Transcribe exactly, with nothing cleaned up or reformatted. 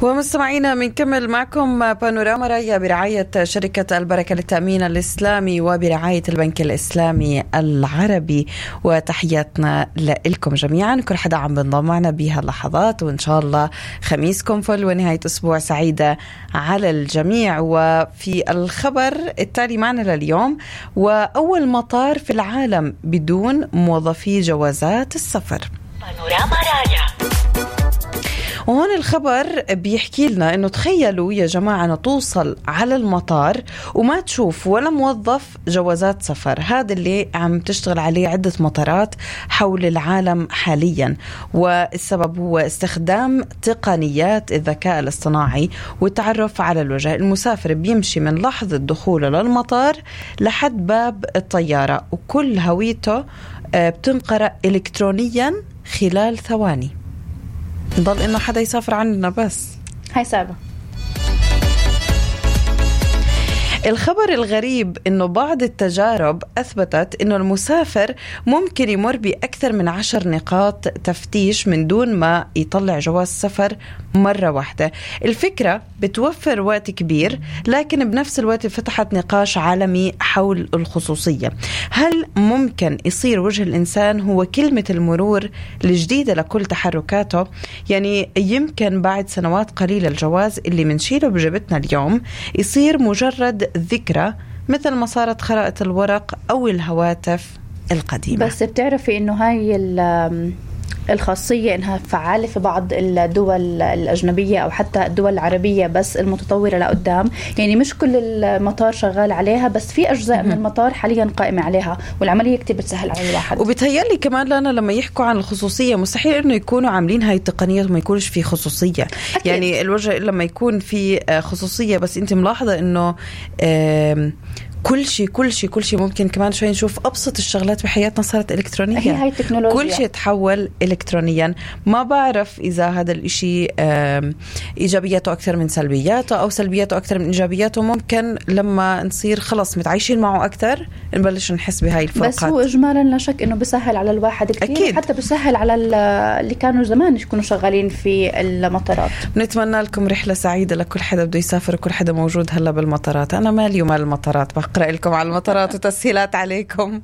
ومستمعينا بنكمل معكم بانوراما راية برعاية شركة البركة للتأمين الإسلامي وبرعاية البنك الإسلامي العربي. وتحياتنا لكم جميعا، كل حدا عم بنضم معنا بها اللحظات، وإن شاء الله خميسكم فل ونهاية أسبوع سعيدة على الجميع. وفي الخبر التالي معنا لليوم: وأول مطار في العالم بدون موظفي جوازات السفر. بانوراما راية. وهون الخبر بيحكي لنا إنه تخيلوا يا جماعة أنه توصل على المطار وما تشوف ولا موظف جوازات سفر. هذا اللي عم تشتغل عليه عدة مطارات حول العالم حاليا، والسبب هو استخدام تقنيات الذكاء الاصطناعي والتعرف على الوجه. المسافر بيمشي من لحظة دخوله للمطار لحد باب الطيارة، وكل هويته بتنقرأ إلكترونيا خلال ثواني. نضل إنه حدا يسافر عننا بس هاي صعبة. الخبر الغريب إنه بعض التجارب أثبتت إنه المسافر ممكن يمر بأكثر من عشر نقاط تفتيش من دون ما يطلع جواز سفر مرة واحدة. الفكرة بتوفر وقت كبير، لكن بنفس الوقت فتحت نقاش عالمي حول الخصوصية. هل ممكن يصير وجه الإنسان هو كلمة المرور الجديدة لكل تحركاته؟ يعني يمكن بعد سنوات قليلة الجواز اللي منشيله بجبتنا اليوم يصير مجرد ذكرى، مثل ما صارت خرائط الورق أو الهواتف القديمة. بس بتعرفي إنه هاي الخاصية إنها فعالة في بعض الدول الأجنبية أو حتى الدول العربية بس المتطورة لقدام. يعني مش كل المطار شغال عليها، بس في أجزاء من المطار حاليا قائمة عليها، والعملية كتير بتسهل على الواحد. وبتهيألي كمان لنا لما يحكوا عن الخصوصية مستحيل إنه يكونوا عاملين هاي التقنيات وما يكونش في خصوصية. أكيد. يعني الوجه لما يكون في خصوصية، بس أنت ملاحظة إنه كل شيء كل شيء كل شيء ممكن كمان شوي نشوف أبسط الشغلات بحياتنا صارت إلكترونية. هي هاي التكنولوجيا، كل شيء تحول إلكترونيا. ما بعرف إذا هذا الإشي إيجابياته أكثر من سلبياته أو سلبياته أكثر من إيجابياته. ممكن لما نصير خلص متعايشين معه أكثر نبلش نحس بهاي الفروقات. بس هو إجمالا لا شك إنه بيسهل على الواحد كتير. أكيد. حتى بيسهل على اللي كانوا زمان يكونوا شغالين في المطارات. نتمنى لكم رحلة سعيدة لكل حدا بده يسافر وكل حدا موجود هلا بالمطارات. أنا مالي ومال المطارات، بقرأ لكم على المطارات وتسهيلات عليكم.